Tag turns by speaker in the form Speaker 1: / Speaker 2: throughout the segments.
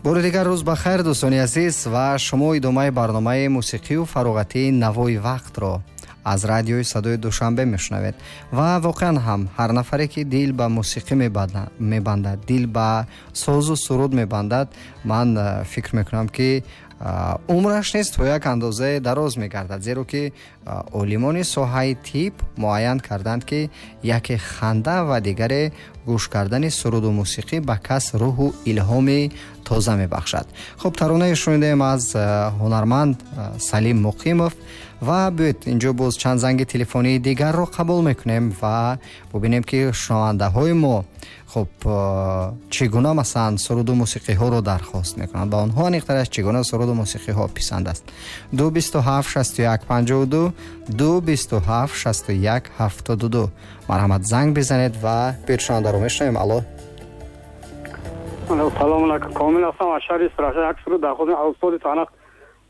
Speaker 1: Бори дигар рӯз ба хайр, дӯстони азиз, ва шумо идомаи барномаи мусиқию фароғатии «Навои вақтро» аз радиои «Садои Душанбе» мешунавед. Ва воқеан ҳам ҳар нафаре, ки дил ба мусиқӣ мебандад, дил ба созу суруд мебандад, ман фикр мекунам, ки умраш низ то як андозае дароз мегардад, зеро ки олимони соҳаи тиб муайян карданд, ки яке ханда ва дигаре гӯш кардани суруду мусиқӣ ба кас рӯҳу илҳоми тоза мебахшад. Хуб, таронае шунидем аз ҳунарманд Салим Муқимов. Ва биёед, инҷо боз чанд занги телефонии дигарро қабул мекунем ва бубинем, ки шунавандаҳои мо, хуб, чӣ гуна, масалан, суруду мусиқиҳоро дархост мекунанд, ба онҳо аниқтараш чӣ гуна суруду мусиқиҳо писанд аст. 2 27 61 52, 2 27 61 72. Марҳамат, занг бизанед. Ва биёед, шунавандаро мешунавем. Алло.
Speaker 2: Салом алайкум, Комил ҳастам аз шаҳри Истаравшан. Як суруд дархост аз устоди санъат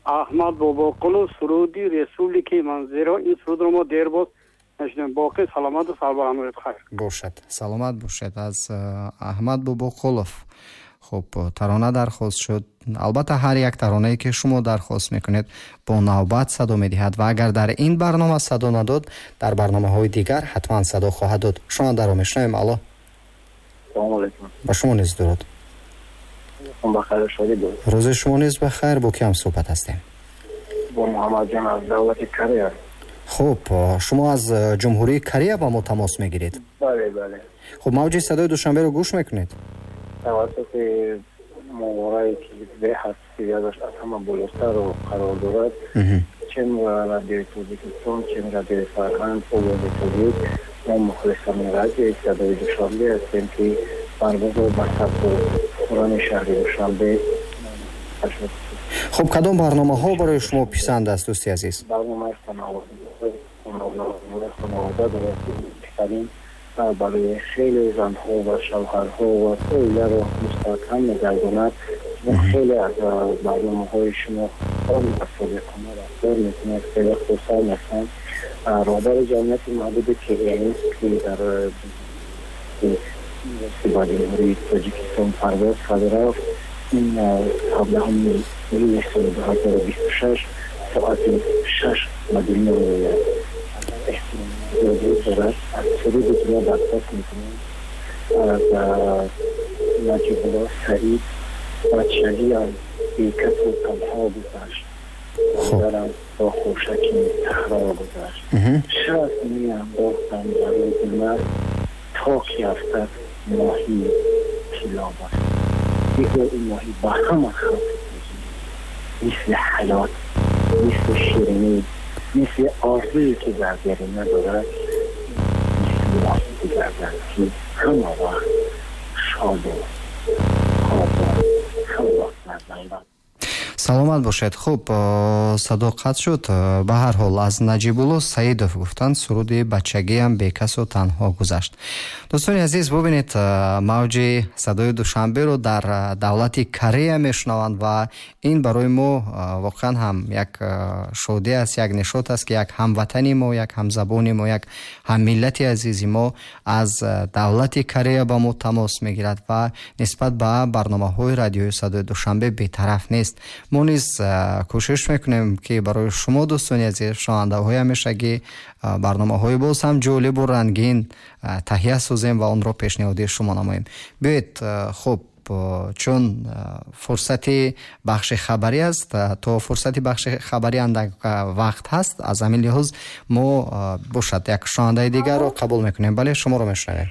Speaker 2: Аҳмад Бобоқулов, суруди «Республикаи ман», зеро ин сурудро мо дербоз нашунидем. Боқӣ саломату сарбаланд бошед, хайр.
Speaker 1: Бошад, саломат бошед. Аз Аҳмад Бобоқулов, хуб, тарона дархост шуд. Албатта, ҳар як таронае, ки шумо дархост мекунед, бо навбат садо медиҳад ва агар дар ин барнома садо надод, дар барномаҳои дигар ҳатман садо хоҳад дод. Шунавандаро мешунавем. Алло.
Speaker 3: Салому алайкум.
Speaker 1: Ба шумо низ дуруд.
Speaker 3: Ба хайру шодӣ буд.
Speaker 1: Рӯзи шумо низ ба хайр. Бо киам суҳбат ҳастем?
Speaker 3: Бо Муҳаммадҷон аз давлати Корея.
Speaker 1: Хуб, шумо аз Ҷумҳурии Корея ба мо тамос мегиред?
Speaker 3: Бале.
Speaker 1: Хуб, мавҷи «Садои Душанберо» гӯш мекунед?
Speaker 3: Тавассути моҳворае, ки беҳад сиядаш аз ҳама болотарро қарор дорад, чем Радиои Тоҷикистон, чем Радиои Фарҳанг, Овози Тоҷик, мо мухлисони радиои «Садои Душанбе» ҳастем, ки парвозро ба сабзу хуррами шаҳри Душанбе.
Speaker 1: Хуб, кадом барномаҳо барои шумо писанд аст, дӯсти азиз?
Speaker 3: Барномаи «Хонавода» дорад, беҳтарин барои хеле занҳо ва шавҳарҳо ва оиларо мустаҳкам мегардонад. Хеле аз барномаҳои шумо содиқона рафтор мекунад, хеле хурсанд ҳастам. Роҳбари ҷамъияти маҳдуди КМС, ки дар ба Ҷумҳурии Тоҷикистон парвоз карда рафт, ин 17-уми июли соли 2026 соати 6 ба дунё меояд. Эҳтиромзиёдӣ дорад. Аз суруди дунё дархост мекунем аз Наҷибулло Саид: «Бачагиам бекасу танҳо гузашт, модарам бо хӯшаки саҳро гузашт, шаст меандохтам бар рӯзи ман, то ки афтад моҳии тилло бар». Бигӯ, ин моҳӣ ба ҳама халқи мисли ҳаёт, мисли ширинӣ, мисли орзуе, ки заргари надорад, мисли моҳӣ бигардад, ки ҳама вақт шоду хобу ҳама вақт дар давлат.
Speaker 1: Саломат бошед. Хуб, садо қатъ шуд. Ба ҳар ҳол, аз Наҷибулло Саидов гуфтанд, суруди «Бачагиам бекасу танҳо гузашт». Дӯстони азиз, бубинед, мавҷи «Садои Душанберо» дар давлати Корея мешунаванд ва ин барои мо воқеан ҳам як шодӣ аст, як нишот аст, ки як ҳамватани мо, як ҳамзабони мо, як ҳаммиллати азизи мо аз давлати Корея ба мо тамос мегирад ва нисбат ба барномаҳои радиои «Садои Душанбе» бетараф нест. Мо низ кӯшиш мекунем, ки барои шумо, дӯстони азиз, шунавандаҳои ҳамешагӣ, барномаҳои боз ҳам ҷолибу рангин таҳия созем ва онро пешниҳоди шумо намоем. Биёед, хуб, чун фурсати бахши хабарӣ аст, то фурсати бахши хабарӣ андак вақт ҳаст. Аз ҳамин лиҳоз мо, бошад, як шунавандаи дигарро қабул мекунем. Бале, шуморо мешунавем.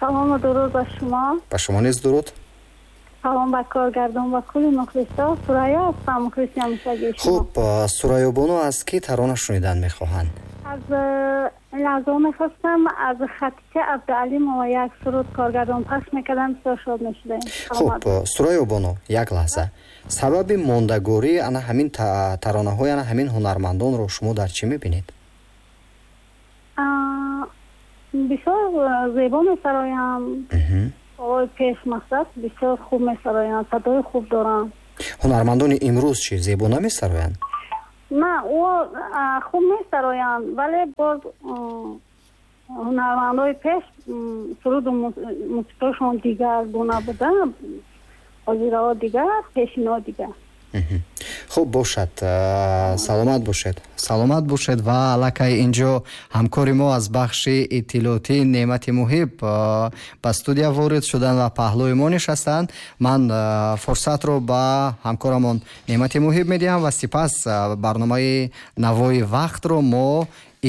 Speaker 4: Салому дуруд ба шумо.
Speaker 1: Ба шумо низ дуруд.
Speaker 4: Салом ба коргардон ва кулли мухлисо. Сурайё ҳастам, мухлиси ҳамешагии шумо.
Speaker 1: Хуб, Сурайёбону, аз кӣ тарона шунидан мехоҳанд?
Speaker 4: Аз лаҳзао мехостам аз Хатича Абдуалимова як суруд коргардон пахш мекардам, бисёр шод мешудем.
Speaker 1: Хуб, Сурайёбону, як лаҳза. Сабаби мондагории ана ҳамин таронаҳои ана ҳамин ҳунармандонро шумо дар чӣ мебинед?
Speaker 4: Бисёр зебо месароянд. Овои пеш, мақсад, бисёр хуб месароянд, садои хуб доранд.
Speaker 1: Ҳунармандони имрӯз чӣ, зебо намесароянд?
Speaker 4: На, ӯ хуб месароянд, вале боз ҳунармандои пеш суруду мусиқиашон дигар гуна буда. Ҳозираҳо дигар, пешинаҳо дигар.
Speaker 1: Хуб бошад, саломат бошед, саломат бошед. Ва аллакай инҷо ҳамкори мо аз бахши иттилоотӣ Неъмати Муҳиб ба студия ворид шуданд ва паҳлӯи мо нишастанд. Ман фурсатро ба ҳамкорамон Неъмати Муҳиб медиҳам ва сипас барномаи Навои вақтро мо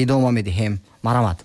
Speaker 1: идома медиҳем. Марҳамат.